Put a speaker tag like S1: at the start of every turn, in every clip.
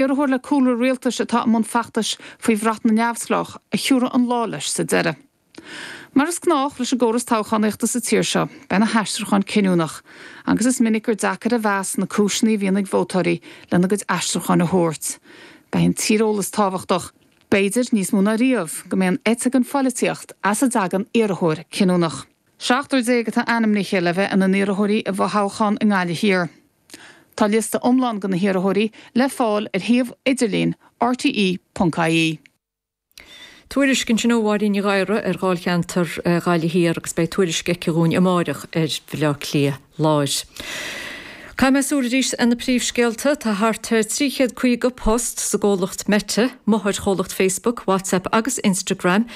S1: Iarrthóir le cúlra rialtais atá i mbun feachtais faoi bhrat na neamhspleách a thiúrfaidh an lá leis sa deireadh. Mar is gnách leis an gcóras toghchánaíochta sa tír seo, beidh na haistriúcháin cinniúnach, agus is minic gur deacair a mheas na cúiseanna a bhíonn ag vótóirí lena gcuid aistriúcháin a thabhairt. Beidh an tíreolas tábhachtach. B'fhéidir, níos mó ná riamh, go mbeidh an eite den phoilitíocht as a dtagann iarrthóir cinniúnach. 17 atá ainmnithe le bheith ina n-iarrthóirí i bhfothoghchán i nGaillimh Thiar. Tá liosta iomlán de na hiarrthóirí le fáil ar shuíomh idirlín rte.ie.
S2: Tuairisc ansin ó Mháirín Ní Ghadhra ar dháilcheantar Ghaillimh Thiar agus beidh tuairisc aici dhúinn amáireach ar Bhaile Átha Cliath Láir. Caithfidh mé súil arís ar na príomhscéalta. Tá thart ar 350 post sa gcomhlacht Meta, máthairchomhlacht Facebook, WhatsApp agus Instagram,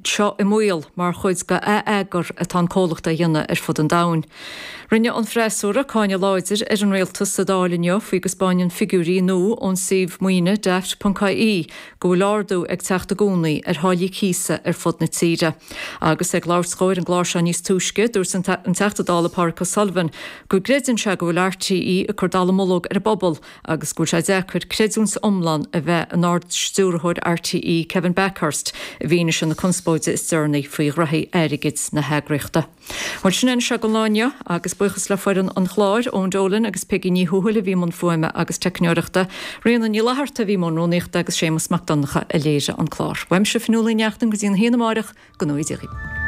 S2: seo i mbaol mar chuid de ath-eagar atá an comhlacht á dhéanamh ar fud an domhain. Rinne an freasúra cáineadh láidir ar an rialtas sa Dáil inniu faoi go 'spáineann figiúirí nua ón suíomh maoine Daft.ie go bhfuil ardú ag teacht i gcónaí ar tháillí cíosa ar fud na tíre. Agus ag labhairt dhó ar an gclár seo níos túisce, dúirt an Teachta Dála Pádraig O'Sullivan go gcreideann sé go bhfuil RTÉ ag cur dallamullóg ar an bpobal agus go bhfuil sé deacair creidiúint iomlán a bheith in Ard-Stiúrthóir RTÉ Kevin Bakhurst i bhfianaise na conspóide is deireanaí faoi ghraithí airgid na heagraíochta. Bhuel, sin é anseo don lá inniu, agus buíochas le foireann an chláir, Eoin Dolan agus Peigí Ní Thuathail a bhí i mbun fuaime agus teicneoireachta, Ríona Ní Fhlatharta a bhí i mbun rúnaíochta agus Séamus Mac Donncha a léirigh an clár. Uaimse, Fionnuala Ní Neachtain, go dtí an haon amáireach, go ngnóthaí Dia dhaoibh.